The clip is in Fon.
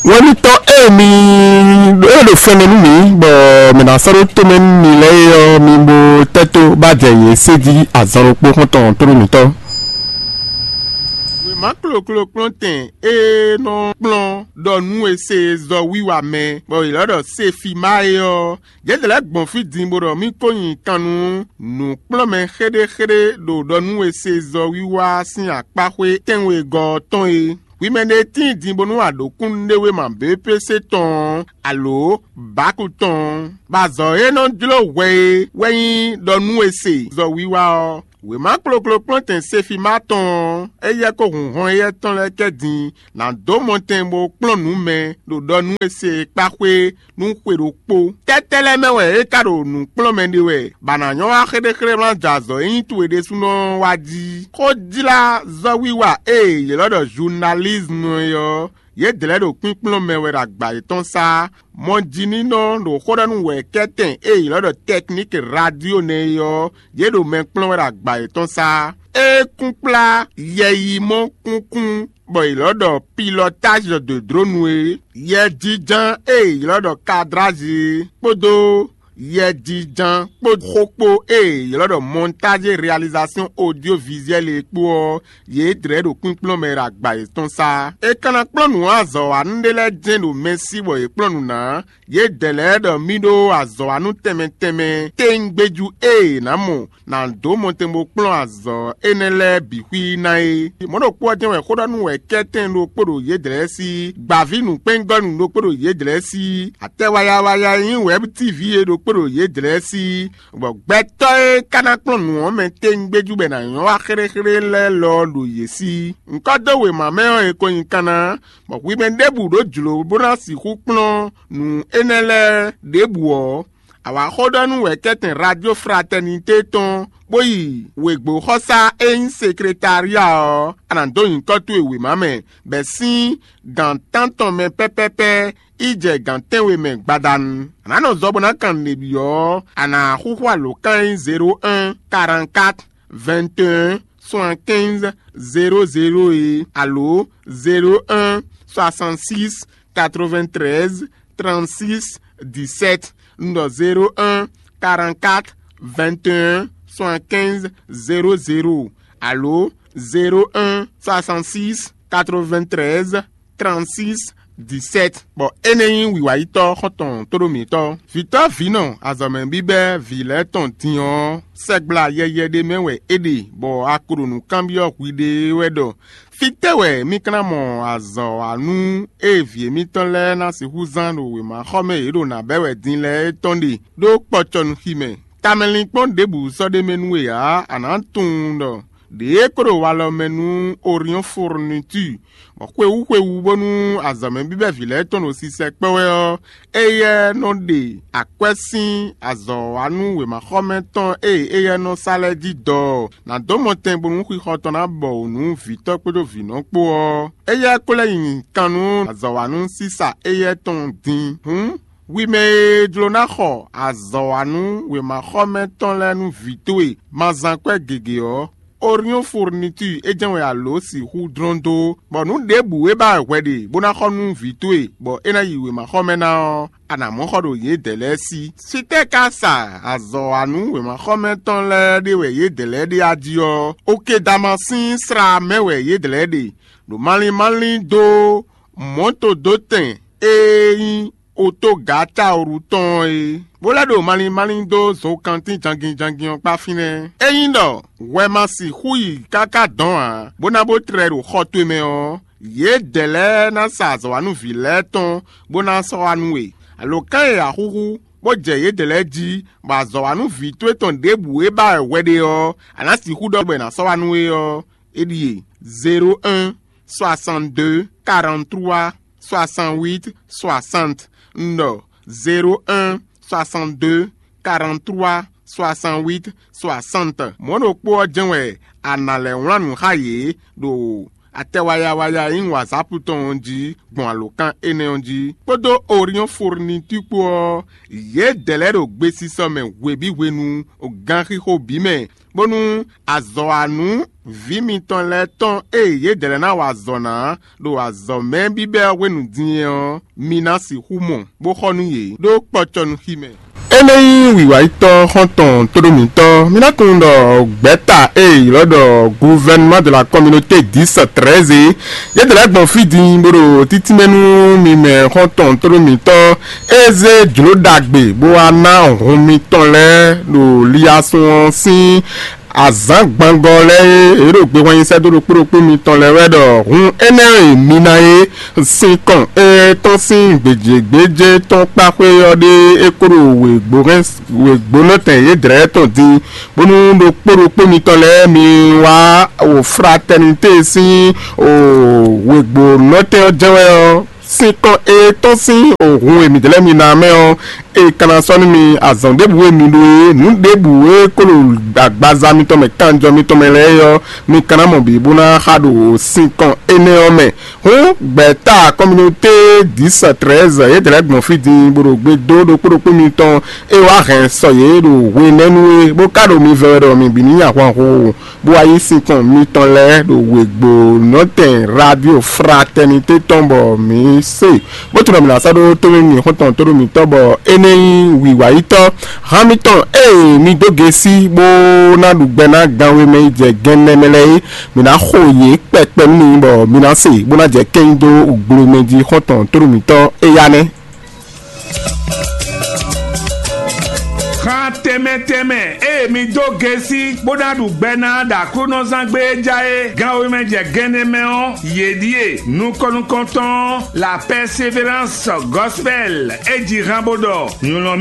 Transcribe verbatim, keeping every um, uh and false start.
Wɛnútɔ́ e mi ɖó e ɖo fɛnmɛ nú mǐ, bɔ mǐ ná sɔ́ ɖó tomɛ nú mi lɛ́ɛ é ɔ́, mi bo tɛ́ tó bá jɛ yě sé jí azɔn ɖokpó xɔ́ntɔn tónú mǐtɔn. Wěma kloklo kplɔ́ntɛn e nɔ kplɔ́n ɖɔ nú e se zɔ wiwa mɛ, bɔ è lɔ́ ɖɔ Sefima é ɔ́, yědɛɛ lɛ́ɛ gbɔn fí din bó ɖɔ mì ko nyi kan nú nǔkplɔ́nmɛ xéɖéxéɖé ɖo ɖɔ nú e se zɔ wiwa sín akpáxwé tɛ́nwegɔ́ ɔ́ tɔn é. Hwi mɛ ɖé tíin din bónú a ɖǒ kúnnuɖewéma B P C tɔn ɔ́, alǒ bǎku tɔn ɔ́, bɔ azɔ̌ e nɔ jló hwɛ é wɛ nyí ɖɔ nú e se zɔ wiwa ɔ́. Wěma kloklo kplɔ́ntɛn Sefima tɔn ɔ́, éyɛ́ kó hun hɔn éyɛ́ tɔn lɛ́ɛ kɛ din ná dó mɔtɛn bó kplɔ́n nǔ mɛ ɖo ɖɔ nú e se kpáxwé nú xwe ɖokpó. Tɛ́tɛ́ lɛ́ɛ mɛ wɛ é ka ɖo nǔ kplɔ́n mɛ ɖe wɛ, bɔ a nǎ nyɔ́ wá xéɖéxéɖé wlán jɛ azɔ̌ e nyí towe ɖésúnɔ ɔ́ wá jí? Xójlázɔ́wiwa e è ylɔ́ ɖɔ zunalízmu é ɔ́, yědɛɛ lɛ́ɛ ɖo kpínkplɔ́n mɛ wɛ ɖo agba yětɔn sá. Mɔjínínɔ ɖo xó ɖɔ nú wɛ̌kɛ́tɛn e è ylɔ́ ɖɔ tɛkníki radio nɛ́ é ɔ́, yě ɖo mɛ kplɔ́n wɛ ɖo agba yětɔn sá. É kún kplá yɛyimɔ kúnkún bɔ è ylɔ́ ɖɔ pilɔtázi de dronu é, yɛjínján e è ylɔ́ ɖɔ kadrázi é, kpódó yɛjínján kpó xó kpó e è ylɔ́ ɖɔ mɔntázi realizasɔn odyovizuɛli é kpó ɔ́, yě dlɛ̌ ɖo kpínkplɔ́n mɛ ɖo agba yětɔn sá. È ka ná kplɔ́n nǔ azɔ̌wanú ɖé lɛ́ɛ jɛ́n ɖo mɛ sí bɔ yě kplɔ́n nǔ ná. Yědɛɛ lɛ́ɛ ɖɔ mì ɖó azɔ̌wanú tɛnmɛ tɛnmɛ téŋgbéjú e è nǎ mɔ ná dó mɔtɛn bó kplɔ́n azɔ̌ énɛ́ lɛ́ɛ bǐ xwí ná é. Mɔ̌ ɖokpó ɔ́ jɛ́n wɛ xó ɖɔ nú wɛ̌kɛ́tɛn ɖokpó ɖo yědɛɛ sí, gbǎví nǔkpɛ́ngɔ́nú ɖokpó ɖo yědɛɛ sí, atɛ wayawaya e nyí wɛ̌btíví é ɖokpó ɖo yědɛɛ sí, bɔ gbɛtɔ́ e ka ná kplɔ́n nǔ ɔ́ mɛ téŋgbéjú bɔ è nǎ nyɔ́ wá xéɖéxéɖé lɛ́ɛ lɔ ɔ́ ɖo yě sí. Ŋkɔ́ dó wěma mɛ ɔ́, è ko nyi kanna, bɔ hwi mɛ ɖěbǔ ɖó jlǒ bó ná sixú kplɔ́n nǔ énɛ́ lɛ́ɛ ɖěbǔ ɔ́, a wǎ xó ɖɔ nú wɛ̌kɛ́tɛn Radio Fraternité tɔn, bó yi wěgbóxɔsá e nyí sekretária ɔ́, a nǎ dó nyǐkɔ towe wěma mɛ, bɛ̌ sín gǎn tántɔn mɛ pɛ́pɛ́pɛ́ yi jɛ gǎn tɛ́nwe mɛ gbadanu. A nǎ nɔ zɔ bó ná kan nǔɖé byɔ́ ɔ́, a nǎ xúxú alǒkan e nyí zéro un, quarante-quatre, vingt et un, soixante-quinze, zéro zéro é, alo zéro un, soixante-six, quatre-vingt-treize, trente-six, dix-sept. Un ɖɔ zéro un, quarante-quatre, vingt et un, soixante-quinze, zéro zéro, alo zéro un, soixante-six, quatre-vingt-treize, trente-six, dix-sept. Bɔ énɛ́ nyí wǐwayítɔ́ xɔ́ntɔn tóɖó mǐtɔn. Vǐtɔ́ vǐnɔ azɔ̌mɛ bíbɛ́ vǐ lɛ́ɛ tɔn din ɔ́, sɛgbla yɛyɛ ɖé mɛ wɛ é ɖe, bɔ a ko ɖo nǔ kanbyɔ́ hwiɖée wɛ ɖɔ: Fítɛ́ wɛ mì ka ná mɔ azɔ̌wanú e vǐ émítɔn lɛ́ɛ ná sixú zán ɖo wěmaxɔmɛ e yě ɖo nǎ bɛ́ wɛ din lɛ́ɛ é tɔn ɖe ɖó kpɔcɔnuxi mɛ? Tamɛlinkpɔ́n ɖěbǔ sɔ́ ɖ'é mɛ nú we ǎ; a nǎ tunwun ɖɔ ɖěe ko ɖo walɔ mɛ nú Oriɔ́n Fourniture, bɔ xwewú xwewú bónú azɔ̌mɛ bíbɛ́ vǐ lɛ́ɛ tɔn ɖo sisɛ kpɔ́ wɛ ɔ́, éyɛ́ nɔ ɖe akwɛ́ sín azɔ̌wanú wěmaxɔmɛ tɔn e éyɛ́ nɔ sa lɛ́ɛ jí dɔ ɔ́, nǎ dó mɔtɛn bónú xixɔ tɔn ná bɔ wǔ nú vǐtɔ́ kpódó vǐnɔ kpó ɔ́. Éyɛ́ ko lɛ́ nyi kan nú azɔ̌wanú sísa éyɛ́ tɔn din. Hǔn, hwi mɛ e jló ná xɔ azɔ̌wanú wěmaxɔmɛ tɔn lɛ́ɛ nú vǐ towe ma zán kwɛ́ gěgé ɔ́, Oriɔ́n Fourniture é jɛ́n wɛ a lǒ sixú dlɔ́n dó, bɔ nǔ ɖěbǔ e ba wɛ hwɛ ɖe bó ná xɔ nú vǐ towe, bɔ é ná yi wěmaxɔmɛ ná ɔ́, a nǎ mɔ xɔ ɖo yědɛɛ lɛ́ɛ sí. Sitɛ́ ka sa azɔ̌wanú wěmaxɔmɛ tɔn lɛ́ɛ ɖe wɛ yědɛɛ lɛ́ɛ ɖe a jí ɔ́, Okedama sín sla mɛ wɛ yědɛɛ lɛ́ɛ ɖe, ɖo malín malín dó mɔ̌to dó tɛn e nyí otógǎtáwlu tɔn ɔ́ é, bó lɛ́ ɖo malín malín dó zokantín jangin jangin ɔ́ kpá fínɛ́. Ényí ɖɔ hwɛ ma sixú yi káká dɔn ǎ, bó ná bó tlɛ ɖo xɔ towe mɛ ɔ́, yědɛɛ lɛ́ɛ ná sa azɔ̌wanúvǐ lɛ́ɛ tɔn bó ná sɔ́ wá nú we. Alǒkan e a xúxú, bó jɛ yědɛɛ lɛ́ɛ jí, bɔ azɔ̌wanúvǐ towe tɔn ɖěbǔ e ba wɛ hwɛ ɖe ɔ́, a nǎ sixú ɖɔ bɔ è nǎ sɔ́ wá nú we ɔ́, é ɖíe: zéro un, soixante-deux, quarante-trois, soixante-huit, soixante. Un ɖɔ zéro un, soixante-deux, quarante-trois, soixante-huit, soixante. Mɔ̌ ɖokpó ɔ́ jɛ́n wɛ a nǎ lɛ́ wlán nǔ xá yě ɖo atɛ wayawaya e nyí wǎzápu tɔn ɔ́ jí gbɔn alǒkan énɛ́ ɔ́ jí, kpódó Oriɔ́n Furnitúr kpó ɔ́, yědɛɛ lɛ́ɛ ɖo gbesisɔ mɛ hwebǐ hwenu ganxixo bǐ mɛ, bónú azɔ̌wanú vǐ mitɔn lɛ́ɛ tɔn e yědɛɛ lɛ́ɛ ná wa azɔ̌ ná ɖo azɔ̌ mɛ bíbɛ́ ɔ́ hwenu din é ɔ́, mi ná sixú mɔ, bó xɔ nú yě ɖó kpɔcɔnúxi mɛ. Énɛ́ nyí wǐwáyítɔ́ xɔ́ntɔn tóɖó mǐtɔn. Mi ná tunwun ɖɔ gbɛ̌ta e è ylɔ́ ɖɔ Gouvernement de la Communauté dix treize, yědɛɛ lɛ́ɛ gbɔn fí din bó ɖo títínmɛ nú mi mɛ xɔ́ntɔn tóɖó mǐtɔn. É zé jlǒ ɖagbe bó wá ná hun mitɔn lɛ́ɛ ɖo liasún ɔ́ sín azǎn gbangɔ lɛ́ɛ e yě ɖo gbehwan nyi sɛ́ dó ɖokpó ɖokpó mitɔn lɛ́ɛ wɛ ɖɔ hun énɛ́ e mi ná é, sinkɔn e tɔ́n sín gbějěgbéjé tɔn kpá xwé ɔ́ ɖé é kó ɖo wěgbónɔtɛn yědrɛ́ tɔn din, bónú ɖokpó ɖokpó mitɔn lɛ́ɛ mi wá o fratɛnité sín o wěgbónɔtɛn ɔ́ jɛ́n wɛ ɔ́, sinkɔn e tɔ́n sín o hun e mǐ dlɛ́ mi ná mɛ ɔ́, e ka ná sɔ́ nú mi azɔn ɖěbǔ e mi ɖó é, nǔ ɖěbǔ e kó ɖo agbaza mitɔn mɛ kanjɔ mitɔn mɛ lɛ́ɛ é ɔ́, mi ka ná mɔ bǐ bó ná xa ɖo sinkɔn énɛ́ ɔ́ mɛ. Hǔn gbɛ̌ta communauté dix treize yědɛɛ lɛ́ɛ gbɔn fí din bó ɖo gbe dó ɖokpó ɖokpó mitɔn e wá hɛn sɔ yě ɖo hwenɛ́nu é, bó ka ɖo mi vɛ́ wɛ ɖɔ mi bǐ ní nyi ahwanhun o, bó wá yí sinkɔn mitɔn lɛ́ɛ ɖo wěgbó nɔtɛn radio fraternité tɔn bɔ mǐ se, bó tunwun ɖɔ mǐ ná sɔ́ ɖó tónú mì xɔ́ntɔn tónú mǐtɔn bɔ é nɛ́ nyí wǐwáyítɔ́. Hán mitɔn ée mi dó gesi bó ná ɖu gbɛ ná gan wemɛ yi jɛ gɛnnɛ mɛ lɛ́ɛ é, mǐ ná xo yě kpɛkpɛ nú mi bɔ mi ná se bó ná jɛ kɛ́nyi dó gblomɛ jí xɔ́ntɔn tónú mǐtɔn éyá nɛ́. Xan tɛnmɛ tɛnmɛ ée mi dó gesi bó ná ɖu gbɛ ná ɖo Aklúnɔzán gbé e ja é gan wemɛ jɛ gɛnnɛ mɛ ɔ́, yě ɖíe: nukɔn nukɔntɔn ɔ́, La Persévérance Gospel, é ji han bó ɖɔ: Nylɔ́